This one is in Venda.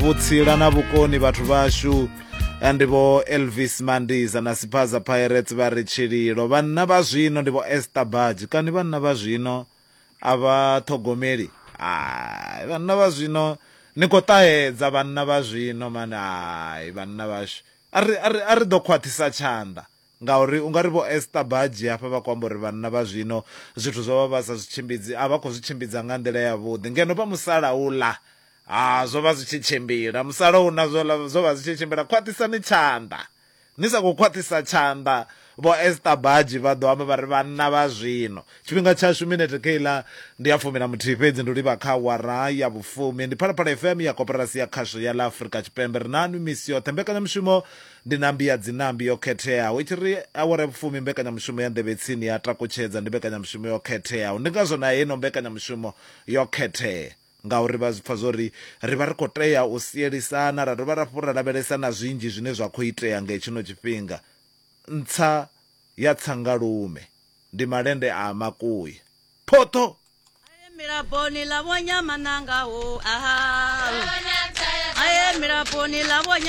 Vhutsila na vhukoni vhathu vhashu ndi vho Elvis Mandiza na Siphaza Pirates vha ri tshililo. Vhanna vha zwino ndi vho Esther Badge. Kani vhanna vha zwino a vha ṱhogomeli? Hai, vhanna vha zwino ni khou ṱahedza vhanna vha zwino mani. Hai, vhanna vhashu a ri, a ri, a ri ḓo khwaṱhisa tshanḓa ngauri u nga ri vho Esther Badge hafha vha khou amba uri vhanna vha zwino zwithu zwo vha vha sa zwi tshimbidzi, a vha khou zwi tshimbidza nga nḓila yavhuḓi ngeno vha musalauḽa Ha, zwo vha zwi tshi tshimbila. Musalauno zwo, zwo vha zwi tshi tshimbila. Khwaṱhisani tshanḓa. Ni sa khou khwaṱhisa tshanḓa, Vho Esther Baji vha ḓo amba vha ri, Vhanna vha zwino. Tshifhinga tshashu minete kheiḽa ndi ya 11 fhedzi, ndi u livha kha awara ya vhufumi. Ndi Phalaphala FM ya Koporasi ya Khasho ya ḽa Afrika Tshipembe. Ri na nwi misi yoṱhe. Mbekanyamushumo ndi Nambi ya Dzinambi yo khetheaho. I tshi ri awara ya vhufumi, mbekanyamushumo ya Nḓevhe Tsini ya takutshedza. Ndi mbekanyamushumo yo khetheaho. Ndi ngazwo na heino mbekanyamushumo yo khethea. Ngauri vha zwi pfa zwa uri ri vha ri khou tea u sielisana, ra dovha hafhu ra lavhelesa na zwinzhi zwine zwa khou itea nga hetshino tshifhinga. Ntsa ya tsangalume ndi malende a makuya. Phoṱho! Aye milaponi ḽa vho Nyamananga ho aha. Aye milaponi ḽa vho.